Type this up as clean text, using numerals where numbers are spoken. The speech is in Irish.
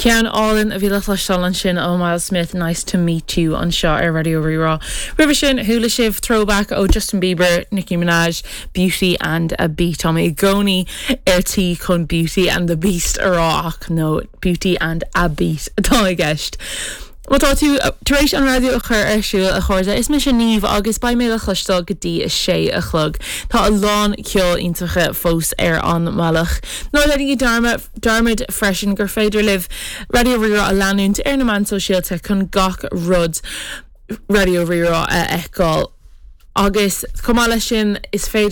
Ceann álainn a bhí le cloisteáil ansin ó Myles Smith, Nice to Meet You anseo ar Raidió Rí-Rá. Roimhe sin, chuala sibh Throwback ó Justin Bieber, Nicki Minaj, Beauty and a Beat. Tá mé i gcónaí ar tí chun Beauty and the Beast a rá ach no, Beauty and a Beat atá i gceist. Má tá tú tar éis an raidió a chur ar siúl, a chairde, is mise Niamh agus beidh mé le cloisteáil go dtí a sé a chlog. Tá a lán ceol iontacha fós ar an mbealach. Ná déanaigí dearmad freisin gur féidir libh Raidió Rí-Rá a leanúint ar na meáin sóisialta chun gach rud Raidió Rí-Rá a fheiceáil. Agus chomh maith leis sin, is féidir.